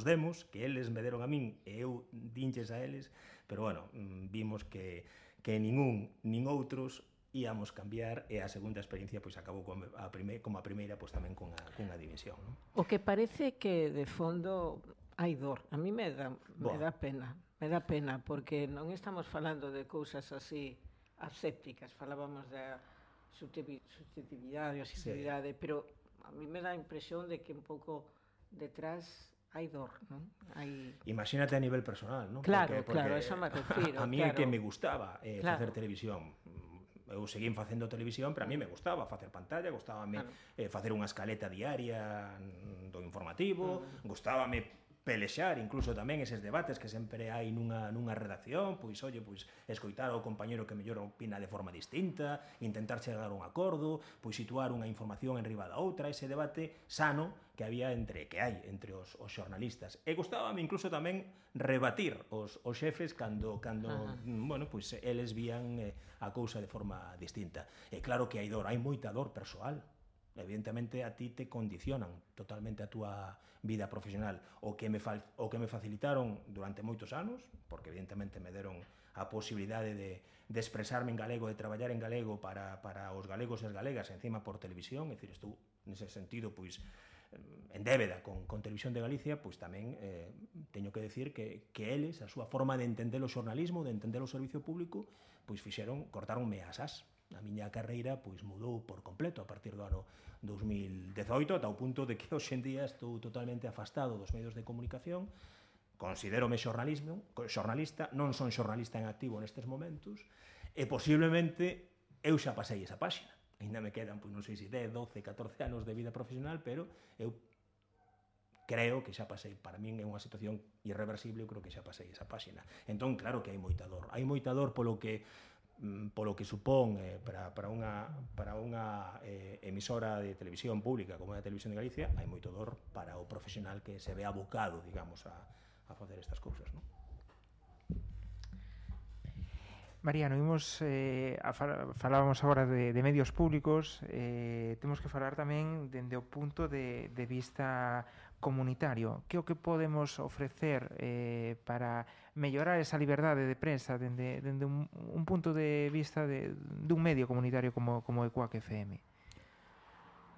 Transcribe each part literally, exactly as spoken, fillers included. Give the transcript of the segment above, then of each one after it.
nos demos, que eles me deron a min e eu dinches a eles, pero bueno, vimos que, que ningún nin outros íamos cambiar e a segunda experiencia pois acabou como a, prime, como a primeira pois tamén cunha, cunha dimisión, non? O que parece que de fondo hai dor, a mí me dá, me dá pena, me dá pena, porque non estamos falando de cousas así asépticas, falábamos da subjetividade, asitividade, sí. Pero a mí me dá a impresión de que un pouco detrás hai dor, non? Hai... Imagínate a nivel personal, non? Claro, porque, porque claro, eso me refiro. A, a mí claro. é que me gustaba eh, claro. facer televisión. Eu seguín facendo televisión, pero a mí me gustaba facer pantalla, gustábame claro. eh, facer unha escaleta diaria do informativo, uh-huh. gustábame pelexar incluso tamén eses debates que sempre hai nunha, nunha redacción, pois, oye, pois, escoitar ao compañero que mellor opina de forma distinta, intentar chegar a un acordo, pois situar unha información en riba da outra, ese debate sano que había entre, que hai entre os, os xornalistas. E gustábame incluso tamén rebatir os, os xefes cando, cando bueno, pois, eles vían eh, a cousa de forma distinta. E claro que hai dor, hai moita dor persoal. Evidentemente a ti te condicionan totalmente a túa vida profesional. O que me, fal, o que me facilitaron durante moitos anos, porque evidentemente me deron a posibilidade de, de expresarme en galego, de traballar en galego para, para os galegos e as galegas, encima por televisión, é dicir, estou nese sentido, pois, en débeda con, con Televisión de Galicia, pois tamén eh, teño que decir que, que eles, a súa forma de entender o xornalismo, de entender o servicio público, pois fixeron, cortaronme as as. A miña carreira pois mudou por completo a partir do ano dos mil dezoito, ata o punto de que hoxe en día estou totalmente afastado dos medios de comunicación. Considérome xornalismo, xornalista, non son xornalista en activo nestes momentos, e posiblemente eu xa pasei esa páxina. Ainda me quedan, pois non sei se dez, doce, catorce anos de vida profesional, pero eu creo que xa pasei, para min é unha situación irreversible, eu creo que xa pasei esa páxina. Entón, claro que hai moita dor. Hai moita dor polo que polo que supón eh, para, para unha, para unha eh, emisora de televisión pública como a Televisión de Galicia, hai moito dor para o profesional que se ve abocado, digamos, a, a facer estas cousas, non? Mariano, imos, eh, a fal falábamos agora de, de medios públicos, eh, temos que falar tamén dende o punto de, de vista comunitario. Que o que podemos ofrecer eh, para mellorar esa liberdade de prensa dende, dende un, un punto de vista de, dun medio comunitario como, como Ecuac F M?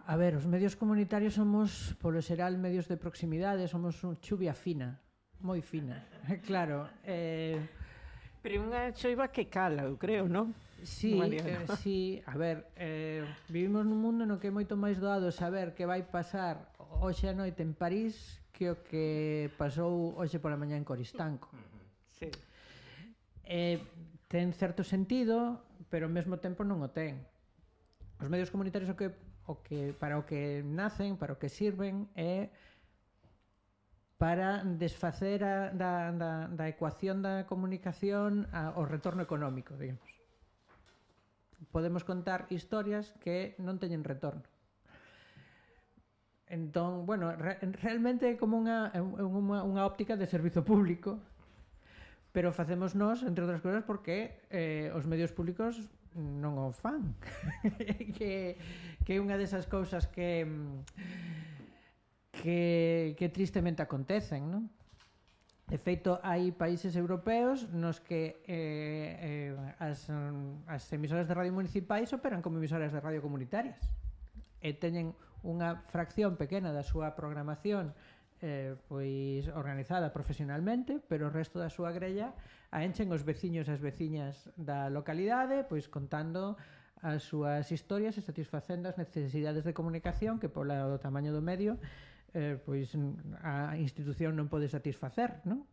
A ver, os medios comunitarios somos, polo xeral, medios de proximidade, somos un chuvia fina, moi fina, claro. Eh... Pero unha choiva que cala, eu creo, non? Sí, eh, sí, a ver, eh, vivimos nun mundo no que é moito máis doado saber que vai pasar hoxe a noite en París que o que pasou hoxe pola mañá en Coristanco. Sí. Eh, ten certo sentido, pero ao mesmo tempo non o ten. Os medios comunitarios o que, o que, para o que nacen, para o que sirven, é para desfacer a, da, da, da ecuación da comunicación ao retorno económico, digamos. Podemos contar historias que non teñen retorno. Entón, bueno, re, realmente é como unha, unha, unha óptica de servizo público, pero facemos nós, entre outras cousas, porque eh, os medios públicos non o fan. que, que é unha desas cousas que... que, que tristemente acontecen, non? De feito, hai países europeos nos que eh, eh, as, as emisoras de radio municipais operan como emisoras de radio comunitarias e teñen unha fracción pequena da súa programación eh, pois organizada profesionalmente, pero o resto da súa grella a enchen os veciños e as veciñas da localidade, pois contando as súas historias e satisfacendo as necesidades de comunicación que polo tamaño do medio eh, pois a institución non pode satisfacer, non?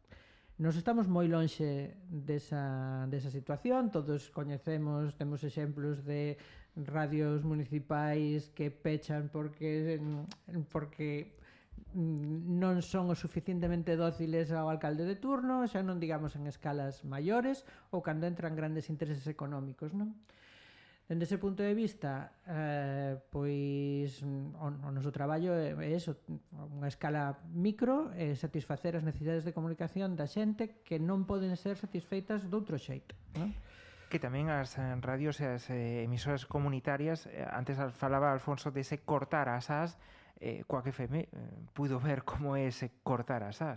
Nos estamos moi lonxe desa, desa situación, todos coñecemos, temos exemplos de radios municipais que pechan porque porque non son o suficientemente dóciles ao alcalde de turno, xa non digamos en escalas maiores ou cando entran grandes intereses económicos, non? Dende ese punto de vista, eh, pois o, o noso traballo é, é eso, unha escala micro, é satisfacer as necesidades de comunicación da xente que non poden ser satisfeitas doutro xeito, non? Que tamén as radios e as emisoras comunitarias, antes falaba Alfonso dese cortar as as, eh, Ecuac F M eh, puido ver como é ese cortar as as.